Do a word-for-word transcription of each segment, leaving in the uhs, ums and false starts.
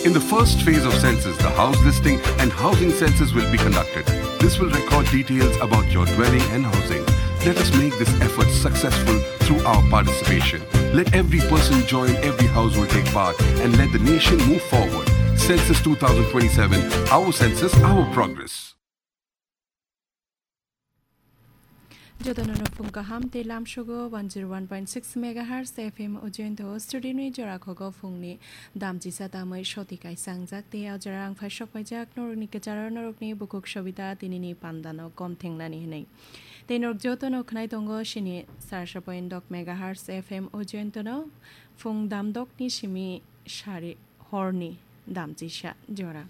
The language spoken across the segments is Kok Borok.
In the first phase of census, the house listing and housing census will be conducted. This will record details about your dwelling and housing. Let us make this effort successful through our participation. Let every person join, every household take part, and let the nation move forward. Census two thousand twenty-seven, our census, our progress. Jotono no phung kaham tei lamsogo one zero one point six megahertz F M o jointo studio ni jora khogo phungni damchisa tamwi soti kaisa wngjak tei o jora ang phai sok paijak norokni kwcharo norokni bukhuk sobita tinini pandano kom thengnani hwnwi. Tei norok jotono khwnai tongo sini sarsa point dok megahertz F M o jointono phung damdokni simi sari horni damchisa jora.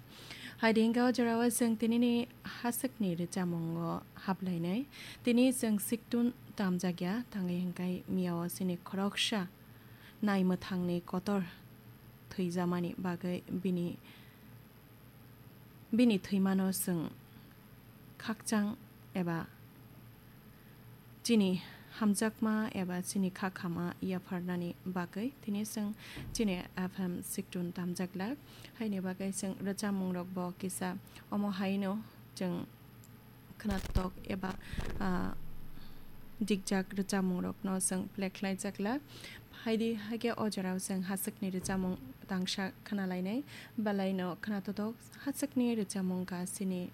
Hai di hwnkhe o jorao chwng tinini haswkni rwchamungo haplainai. Tini chwng siktun tamjakya, tangwi hwnkhe miyao chini khoroksa naimwthangni kotor thwijamani bagwi bini, bini thwimano chwng khakchang eba chini hamjakma eba chini kha khama yapharnani bagwi tini chwng chini F M siktun tamjak lak. Haini bagwi chwng rwchapmungrokbo kisa omo haino chwng khwnatok eba, ah, dikjak rwchapmungrokno chwng play khlaijak lak. Haidi haikhe o jorao chwng haswkni rwchapmung tangsa khwnalainai. Belaino khwnatotok haswkni rwchapmung wngkha chini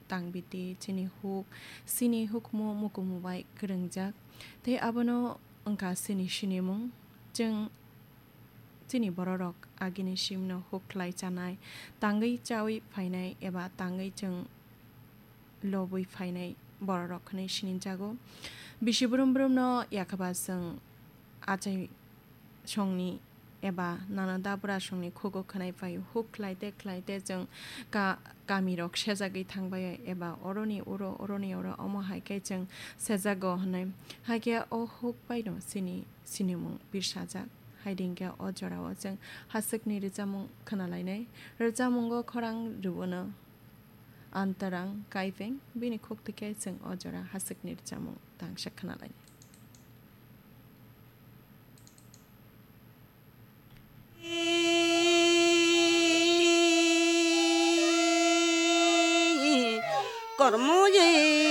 tangbiti, chini huk, chini hukumu mukumu bai kwrwngjak. Tei abono wngkha chini sinimung. Chwng chini bororok agini simno huk khlai chanai, tangwi chawi phainai eba tangwi chwng lobwi phainai bororok hwnwi sinijago. Bisi brum brumno yakhaba chwng achai songni eba nana dabra songni khugo khwnai phaio. Huk khlaite khlaite chwng ka-, kamirok sejagwi thangbaio eba oroni oro, oroni oro, omo hai khe chwng sejago hwnwi. Haikhe o huk baino chini sinimung birsajak. Haidi hwnkhe o jorao chwng haswkni rwchapmung khwnalainai. Rwchapmungo khorang rwuno Antarang Kaipeng, bini khuk twi khe chwng o jora haswkni rwchapmung tangsa khwnalainai.